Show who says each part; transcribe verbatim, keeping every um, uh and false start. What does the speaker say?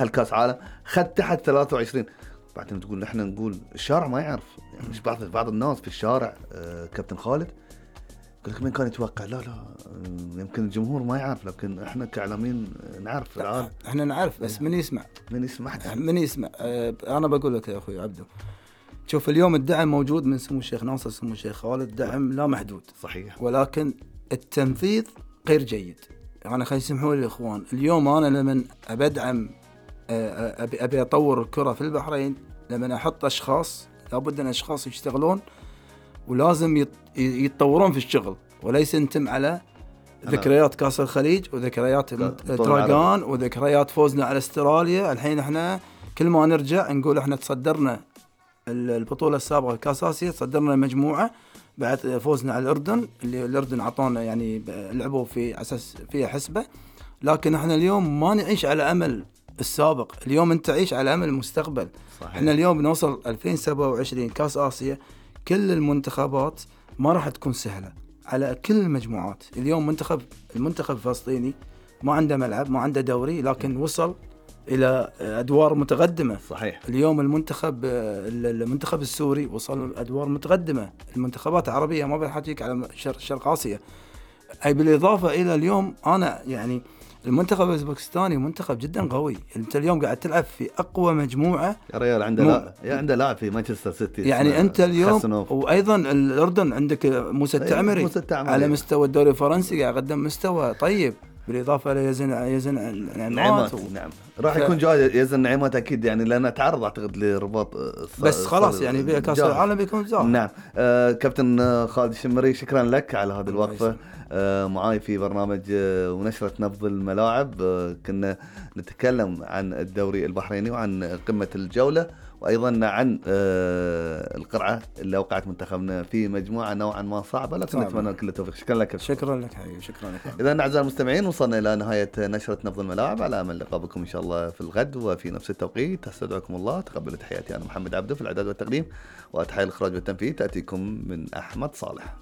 Speaker 1: هالكاس عالم خد تحت ثلاثة وعشرين. بعدين تقول احنا نقول الشارع ما يعرف، يعني مش بعض بعض الناس في الشارع آه كابتن خالد يقول لك مين كان يتوقع؟ لا لا آه يمكن الجمهور ما يعرف، لكن احنا كاعلاميين نعرف في العالم.
Speaker 2: احنا نعرف بس من يسمع
Speaker 1: من يسمع
Speaker 2: من يسمع آه انا بقول لك يا اخوي عبدو، شوف اليوم الدعم موجود من سمو الشيخ ناصر، سمو الشيخ خالد، دعم لا محدود
Speaker 1: صحيح،
Speaker 2: ولكن التنفيذ غير جيد. يعني خلي يسمحوا لي الاخوان، اليوم انا لمن ابدعم ابي ابي اطور الكره في البحرين، لمن احط اشخاص لابد ان اشخاص يشتغلون ولازم يتطورون في الشغل، وليس انتم على ذكريات كاس الخليج وذكريات دراغان وذكريات فوزنا على استراليا. الحين احنا كل ما نرجع نقول احنا تصدرنا البطوله السابقه كاس اسيا، تصدرنا المجموعه بعد فوزنا على الاردن، اللي الاردن عطانا يعني لعبوا في اساس فيها حسبه. لكن احنا اليوم ما نعيش على امل السابق، اليوم انت تعيش على امل المستقبل. صحيح. احنا اليوم بنوصل ألفين وسبعة وعشرين كاس اسيا، كل المنتخبات ما راح تكون سهله على كل المجموعات. اليوم منتخب المنتخب الفلسطيني ما عنده ملعب، ما عنده دوري، لكن وصل الى ادوار متقدمه.
Speaker 1: صحيح.
Speaker 2: اليوم المنتخب المنتخب السوري وصل ادوار متقدمه. المنتخبات العربيه ما بحكيك على شرق اسيا. اي بالاضافه الى اليوم انا يعني المنتخب الأوزبكستاني منتخب جدا قوي. انت اليوم قاعد تلعب في اقوى مجموعه
Speaker 1: يا ريال، عنده لا يا عنده لاعب في مانشستر سيتي
Speaker 2: يعني انت اليوم خسنوف. وايضا الاردن عندك موسى التعمري على مستوى الدوري الفرنسي قاعد يقدم مستوى طيب، بالاضافه ليزن يزن نعمات
Speaker 1: و... نعم راح ف... يكون جاي يزن نعمات اكيد، يعني لانه تعرض اعتقد لرباط الص...
Speaker 2: بس خلاص يعني بكاس العالم بيكون زاهر.
Speaker 1: نعم آه كابتن خالد الشمري، شكرا لك على هذه الوقفه آه معاي في برنامج آه ونشرة نبض الملاعب. آه كنا نتكلم عن الدوري البحريني وعن قمة الجولة، وأيضا عن آه القرعة اللي أوقعت منتخبنا في مجموعة نوعا ما صعبة، لكن نتمنى كل التوفيق. شكرا لك.
Speaker 2: شكرا لك حبيبي، شكرا لك.
Speaker 1: إذا أعزائي المستمعين وصلنا إلى نهاية نشرة نبض الملاعب، على أمل لقاء بكم إن شاء الله في الغد وفي نفس التوقيت. استودعكم الله، تقبلوا تحياتي أنا محمد عبده في الإعداد والتقديم، وتحية الإخراج والتنفيذ تأتيكم من أحمد صالح.